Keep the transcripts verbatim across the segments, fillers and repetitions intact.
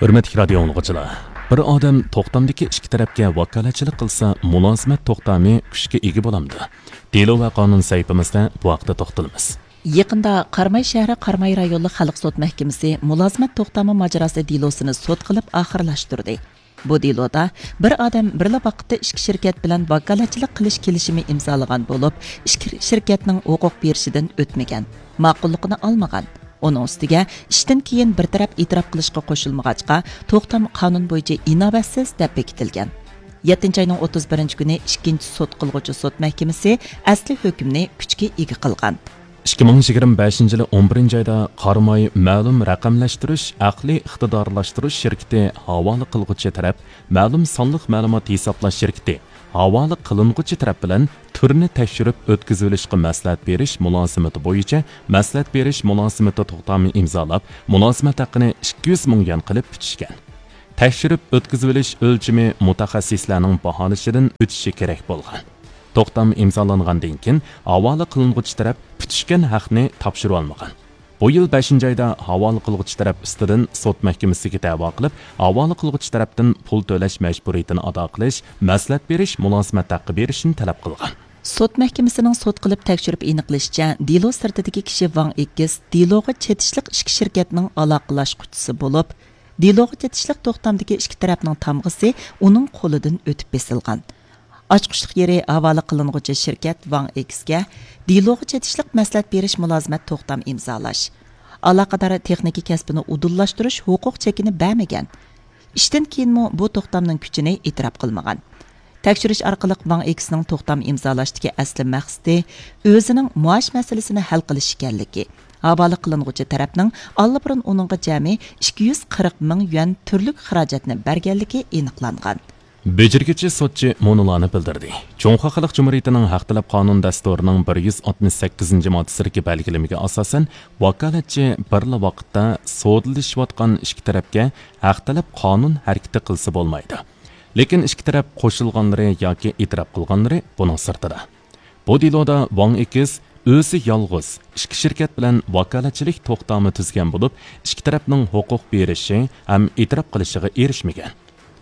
ھۆرمەتلىك رادىيو ئاڭلىغۇچىلار، بىر ئادەم توختامدىكى ئىككى تەرەپكە ۋاكالەتچىلىك قىلسا، مۇلازىمەت توختامى كۈچكە ئىگە بولامدۇ؟ دېلو ۋە قانۇن سەھىپىمىزدە بۇ ھەقتە توختىلىمىز. يېقىندا قاراماي شەھىرى قاراماي رايونلۇق خەلق سوت مەھكىمىسى مۇلازىمەت توختامى ماجىراسى دېلوسىنى سوت قىلىپ ئاخىرلاشتۇردى. بۇ دېلودا بىر ئادەم بىرلا ۋاقىتتا ئىككى شىركەت بىلەن ۋاكالەتچىلىك قىلىش كېلىشىمى ئىمزالىغان بولۇپ، ئىككى شىركەتنىڭ ھوقۇق بېرىشىدىن ئۆتمىگەن، ماقۇللۇقىنى ئالمىغان. ئۇنىڭ ئۈستىگە ئىشتىن كېيىن بىر تەرەپ ئېتىراپ قىلىشقا قوشۇلمىغاچقا، توختام قانۇن بويىچە ئىناۋەتسىز دەپ بېكىتىلگەن. يەتتىنچى ئاينىڭ ئوتتۇز بىرىنچى كۈنى ئىككىنچى سوت قىلغۇچى سوت مەھكىمىسى ئەسلى ھۆكۈمنى كۈچكە ئىگە قىلغان. ئىككى مىڭ يىگىرمە بەشىنچى يىلى ئون بىرىنچى ئايدا قاراماي مەلۇم رەقەملەشتۈرۈش، ئەقلىي ئىقتىدارلاشتۇرۇش شىركىتى ھاۋالە قىلغۇچى تەرەپ مەلۇم سانلىق مەلۇمات ھېسابلاش شىركىتى ھاۋالە قىلىنغۇچى تەرەپ بىلەن تۈرنى تەكشۈرۈپ ئۆتكۈزۈۋېلىشقا مەسلىھەت بېرىش مۇلازىمىتى بويىچە مەسلىھەت بېرىش مۇلازىمىتى توختامى ئىمزالاپ، مۇلازىمەت ھەققىنى ئىككى يۈز مىڭ يۈەن قىلىپ پۈتۈشكەن. تەكشۈرۈپ ئۆتكۈزۈۋېلىش ئۆلچىمى مۇتەخەسسىسلەرنىڭ باھالىشىدىن ئۆتۈشى كېرەك بولغان. توختام ئىمزالانغاندىن كېيىن، ھاۋالە قىلىنغۇچى تەرەپ پۈتۈشكەن ھەقنى تاپشۇرۇۋالمىغان. بۇ يىل بەشىنچى ئايدا ھاۋالە قىلغۇچى تەرەپ ئۈستىدىن سوت مەھكىمىسىگە دەۋا قىلىپ، ھاۋالە قىلغۇچى تەرەپتىن پۇل تۆلەش مەجبۇرىيىتىنى ئادا قىلىش، مەسلىھەت بېرىش مۇلازىمەت ھەققى بېرىشنى تەلەپ قىلغان. سوت مەھكىمىسىنىڭ سوت قىلىپ تەكشۈرۈپ ئېنىقلىشىچە، دېلو سىرتىدىكى كىشى ۋاڭ ئېكس دېلوغا چېتىشلىق ئىككى شىركەتنىڭ ئالاقىلاشقۇچىسى بولۇپ، دېلوغا چېتىشلىق توختامدىكى ئىككى تەرەپنىڭ تامغىسى ئۇنىڭ قولىدىن ئۆتۈپ بېسىلغان. ئاچقۇچلۇق يېرى ھاۋالە قىلىنغۇچى شىركەت ۋاڭ ئېكسكە دېلوغا چېتىشلىق مەسلىھەت بېرىش مۇلازىمەت توختام ئىمزالاش، ئالاقىدار تېخنىكا كەسپىنى ئۇدۇللاشتۇرۇش ھوقۇق چېكىنى بەرمىگەن. ئىشتىن كېيىنمۇ بۇ توختامنىڭ كۈچىنى ئېتىراپ قىلمىغان. تەكشۈرۈش ئارقىلىق ۋاڭ ئېكسنىڭ توختام ئىمزالاشتىكى ئەسلى مەقسىتى ئۆزىنىڭ مائاش مەسىلىسىنى ھەل قىلىش ئىكەنلىكى، ھاۋالە قىلىنغۇچى تەرەپنىڭ ئاللىبۇرۇن ئۇنىڭغا جەمئىي ئىككى يۈز قىرىق مىڭ يۈەن تۈرلۈك خىراجەتنى بەرگەنلىكى ئېنىقلانغان. بېجىرگۈچى سوتچى مۇنۇلارنى بىلدۈردى. جۇڭخۇا خەلق جۇمھۇرىيىتىنىڭ ھەق تەلەپ قانۇن دەستۇرىنىڭ بىر يۈز ئاتمىش سەككىزىنچى ماددىسىدىكى بەلگىلىمىگە ئاساسەن، ۋاكالەتچى بىرلا ۋاقىتتا سودىلىشىۋاتقان ئىككى تەرەپكە ھەق تەلەپ قانۇن ھەرىكىتى قىلسا بولمايدۇ. لېكىن ئىككى تەرەپ قوشۇلغانلىرى ياكى ئېتىراپ قىلغانلىرى بۇنىڭ سىرتىدا. بۇ دېلودا ۋاڭ ئېكس ئۆزى يالغۇز ئىككى شىركەت بىلەن ۋاكالەتچىلىك توختامى تۈزگەن بولۇپ، ئىككى تەرەپنىڭ ھوقۇق بېرىشى ھەم ئېتىراپ قىلىشىغا ئېرىشمىگەن.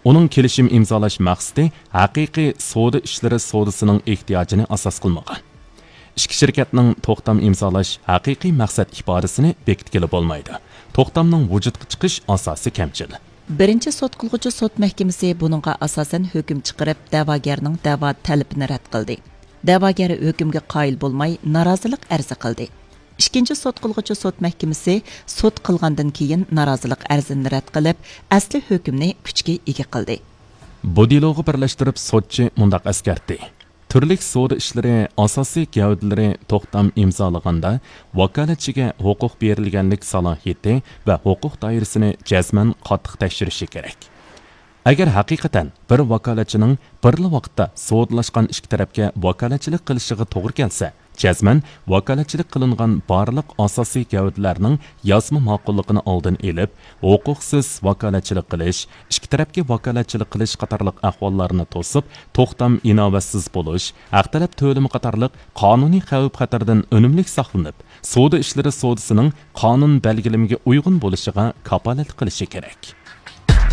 ئۇنىڭ كېلىشىم ئىمزالاش مەقسىتى ھەقىقىي سودا ئىشلىرى سودىسىنىڭ ئېھتىياجىنى ئاساس قىلمىغان. ئىككى شىركەتنىڭ توختام ئىمزالاش ھەقىقىي مەقسەت ئىپادىسىنى بېكىتكىلى بولمايدۇ. توختامنىڭ ۋۇجۇدقا چىقىش ئاساسى كەمچىل. بىرىنچى سوت قىلغۇچى سوت مەھكىمىسى بۇنىڭغا ئاساسەن ھۆكۈم چىقىرىپ، دەۋاگەرنىڭ دەۋا تەلىپىنى رەت قىلدى. دەۋاگەر ھۆكۈمگە قايىل بولماي، نارازىلىق ئەرزى قىلدى. ئىككىنچى سوت قىلغۇچى سوت مەھكىمىسى سوت قىلغاندىن كېيىن نارازىلىق ئەرزىنى رەت قىلىپ، ئەسلى ھۆكۈمنى كۈچكە ئىگە قىلدى. بۇ دېلوغا بىرلەشتۈرۈپ سوتچى مۇنداق ئەسكەرتتى: تۈرلۈك سودا ئىشلىرى ئاساسىي گەۋدىلىرى توختام ئىمزالىغاندا، ۋاكالەتچىگە ھوقۇق بېرىلگەنلىك سالاھىيىتى ۋە ھوقۇق دائىرىسىنى جەزمەن قاتتىق تەكشۈرۈشى كېرەك. ئەگەر ھەقىقەتەن بىر ۋاكالەتچىنىڭ بىرلا ۋاقىتتا سودىلاشقان ئىككى تەرەپكە ۋاكالەتچىلىك قىلىشىغا توغرا كەلسە، جەزمەن ۋاكالەتچىلىك قىلىنغان بارلىق ئاساسىي گەۋدىلەرنىڭ يازما ماقۇللۇقىنى ئالدىن ئېلىپ، ھوقۇقسىز ۋاكالەتچىلىك قىلىش، ئىككى تەرەپكە ۋاكالەتچىلىك قىلىش قاتارلىق ئەھۋاللارنى توسۇپ، توختام ئىناۋەتسىز بولۇش، ھەق تەلەپ تۆلىمى قاتارلىق قانۇنىي خەۋپ-خەتەردىن ئۈنۈملۈك ساقلىنىپ، سودا ئىشلىرى سودىسىنىڭ قانۇن بەلگىلىمىگە ئۇيغۇن بولۇشىغا كاپالەتلىك قىلىشى كېرەك.